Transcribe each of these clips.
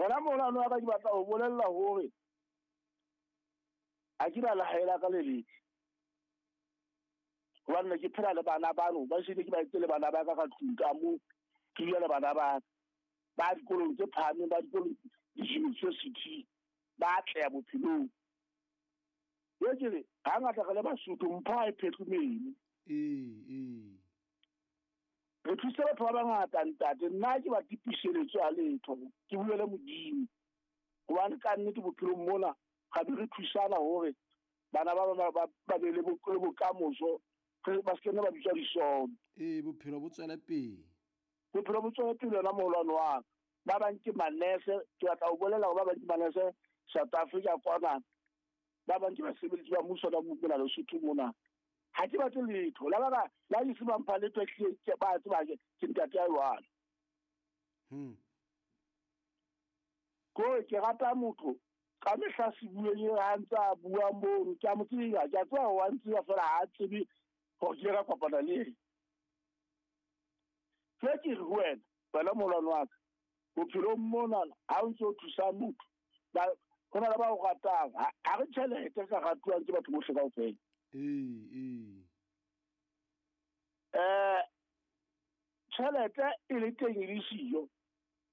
Wena moholwane wa ka, ke batla ho bolella hore ha ke na lehae la ka le letle. Hobane ne ke phela le bana bano, ba shebile ke ba etse le bana ba ka ka tlung ka moo, ke dula le bana ba ka. Ba dikolong tse phahameng, ba dikolong di-university, ba atleha bophelong. Ye ke re, hangata re le Basotho, mpho ha e phetle meno. Ee, ee. Re thuse batho ba bangata ntate, nna ke ba tipiseletso ya letho, ke bue le Modimo. Hobane ka nnete bophelong mona, ga be re thusana hore bana ba be le bokamoso, ba se ke nne ba bitswa disono. Ee, bophelo bo tswele pele. Bophelo bo tswele pele yona moholwane wa ka. Ba bang ke manese, ke batla ho bolela hore ba bang ke manese South Africa kwana. Ba bang ke basebeletsi ba mmuso ba mona Lesotho mona. Ha ke batle letho. La ba la di se ba mpha letho, ehlile ke ba tseba ke ntate ya jwalo. Ko ke rata motho ka mehla se bueng e ha ntse a bua mono, ke a mo tseba, ke a tseba hore wa ntseba feela ha a tsebe hore ke ile ka kopana le ena. Ke ke re ho wena, wena moholwane wa ka, bophelong mona ha o ntse o thusa motho, ho na le ba o ratang, ha re tjhelete ka ratuwang ke batho bohle kaofela. Ee, ee. Tjhelete e le teng e le siyo,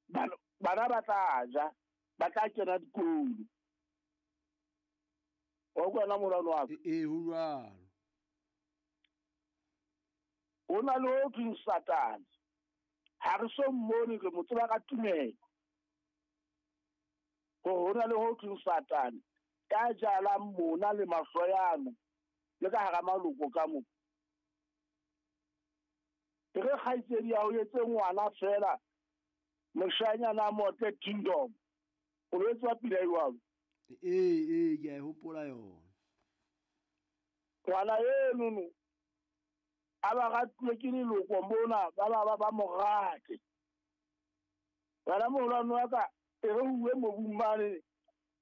bana ba tla ja, ba tla kena dikolo. Wa utlwa na moholwane wa ka? Ee, ho jwalo. Ho na le ho thweng Satane. Ha re so mmone, re mo tseba ka tumelo. Hore ho na le ho thweng Satane, ya jalang mona le mahloyano, le ka hara maloko ka mo. E re kgaitsedi ya ho etse ngwana feela, moshanyana a motle kingdom. O lo tswa pila jwalo. Ee, ee, ke a e hopola yona. Ngwana eno a ba ratuwe ke leloko mona, ba mo rate. Wena moholwane wa ka, e re uwe mobung mane,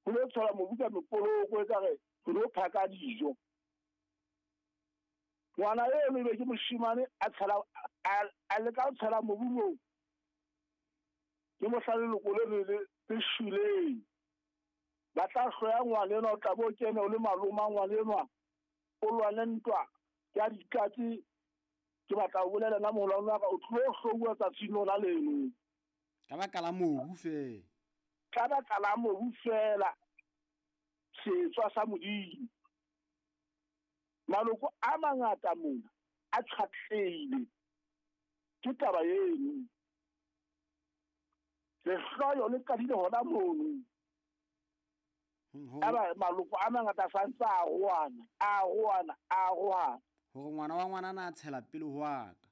ho lo tshola mobu ka mekoloko, e ka re ho lo phaka dijo. Ngwana eno ebe ke moshemane a tshela, a leka ho tshela mobu moo. Ke mohla leloko le le le shweleng. Ba tla hloya ngwana enwa, o tla bo kene o le maloma ngwana enwa, o lwane ntwa ya dikatse. Ke batla ho bolela nna moholwane wa ka, o tlo hlouwa tsatsing lona leno. Ka baka la mobu feela. Ka baka la mobu feela, setswa sa Modimo. Maloko a mangata mona a tshwatlehile ke taba eno. Lehloyo le qadile hona mono. Aba maloko a mangata a santse a roana, a roana, a roana. Hore ngwana wa ngwanana a tshela pele ho wa ka.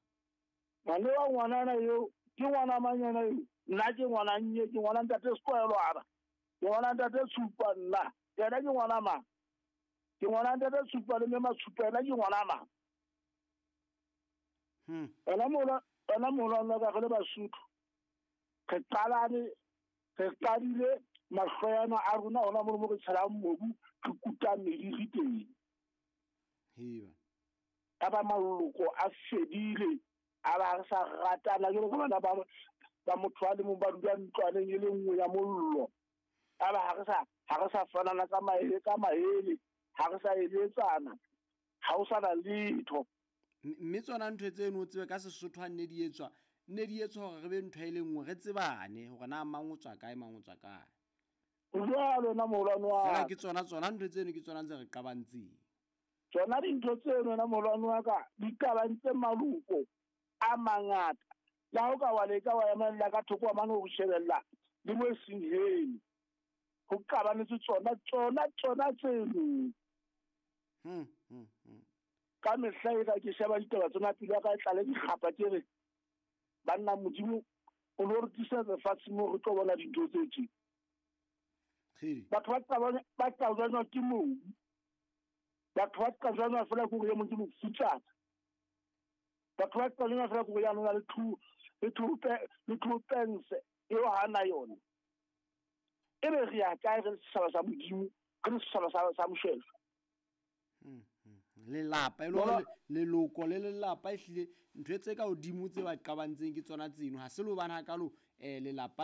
Ngwana wa ngwanana eo, ke ngwana mang yena eo? Nna ke ngwana nnye, ke ngwana ntate Sekoelwana. Ke ngwana ntate Tshupa nna. Yena ke ngwana mang? Ke ngwana ntate Tshupa le mme Matshupa, yena ke ngwana mang? Wena mola, wena mola nna ka re le Basotho. Re qalane, re qadile mahloyana a rona hona mono mo re tshelang mobu, re kuta meriri teng. Heba. Ka ba maloko a fedile, a ba re sa ratana, jwalo ka bana ba motho a le mong ba dula ntlwaneng e le nngwe ya mollo. A ba ha re sa fanana ka maele, ka maele, ha re sa eletsana, ha ho sa na letho. Mme tsona ntho tseno o tsebe ka Sesotho ha nne di etswa, nne di etswa hore re be ntho e le nngwe, re tsebane hore na mang o tswa kae, mang o tswa kae. Jwalo na moholwane wa Feela ka. ke tsona ntho tseno ke tsona tse re qabantseng. Tsona dintho tseno na moholwane wa ka, di qabantse maloko a mangata. Le ha o ka wa leka wa emella ka thoko wa mane ho shebella le mo e seng heno. Ho qabanetse tsona tseno. Ka mehla e ka ke sheba ditaba tsena pelo ya ka e tlale dikgapa, ke re, banna Modimo o lo re tlisa lefatsheng moo re tlo bona dintho tse tje. Kgidi. Batho ba qabanywa ke mobu. Batho ba qabanywa feela ke hore e mong ke mofutsana. Batho ba qabanywa feela ke hore ya nona le two, le two pe-, le two pence eo ha na yona. E be re ya kae re le setjhaba sa Modimo, re le setjhaba sa Moshweshwe? Lelapa, e le hore leloko le lelapa ehlile ntho tse ka hodimo tse ba qabantseng ke tsona tseno. Ha se le hobane hakalo, lelapa